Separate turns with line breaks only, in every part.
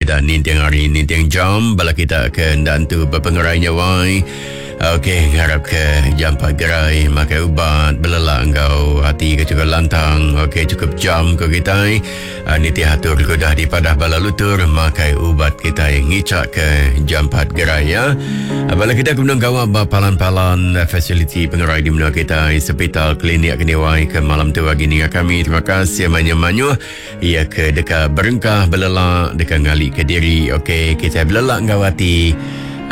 kita ninting hari ninting jam bala kita ke enda entu bepengerai nya wai. Okey, ngarap ke jampat gerai makai ubat belelak enggau ati ke cukup lantang. Okey, cukup jam ko kitai. Ah, nitih atur ke udah dipadah bala lutur makai ubat kitai ngichak ke jampat gerai ya. Ah, bala kita ke benung gawa ba palan-palan fasiliti pengerai di menua kitai, sepital, klinik ke niwai ke malam tu agi ninga kami. Terima kasih mayuh-mayuh. Iya ke deka berengkah belelak, deka ngalika diri. Okey, kitai belelak enggau ati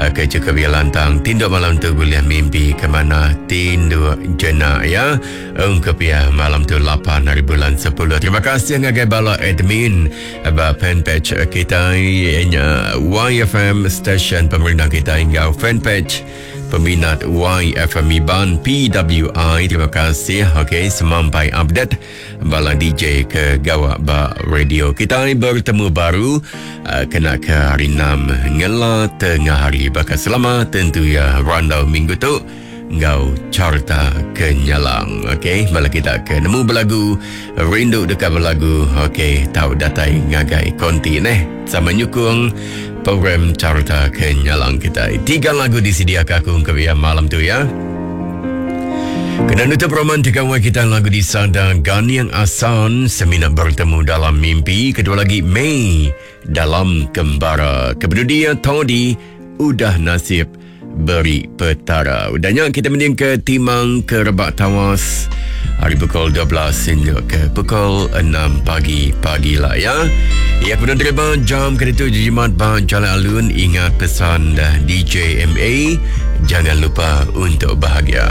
eh, ke cukup iya lantang. Tinduk malam tu bulih mimpi ke manah, tinduk jenak ya. Ungkup iya malam tu 8 hari bulan 10. Terima kasih ngagai bala admin ba fanpage kitai iya nya YFM Station Pemerindang kitai enggau fanpage peminat YFM Iban PWI. Terima kasih. Okey, semampai update. Bala DJ ke gawa ba radio kitai bertemu baru uh, kena ke hari 6 ngela tengah hari baka selama tentu ya randau minggu tu enggau carta kenyalang. Okey, bala kita ke nemu belagu, rindu deka belagu, okey, tau datai ngagai konti neh. Sama nyukung program carta kenyalang kitai. Tiga lagu disediakan aku ke ya malam tu ya. Kena nutup romantika wai kita lagu di sada Ganiang Asan Semina Bertemu Dalam Mimpi Kedua lagi Mei Dalam Kembara Kebenudia Todi Udah Nasib Beri Petara Udahnya kita mending ke Timang ke Rebak Tawas Hari pukul 12 hingga ke pukul 6 pagi pagi lah ya. Ya kemudian terima jam ke itu jimat ba Jalan Alun ingat pesan DJ MA jangan lupa untuk bahagia.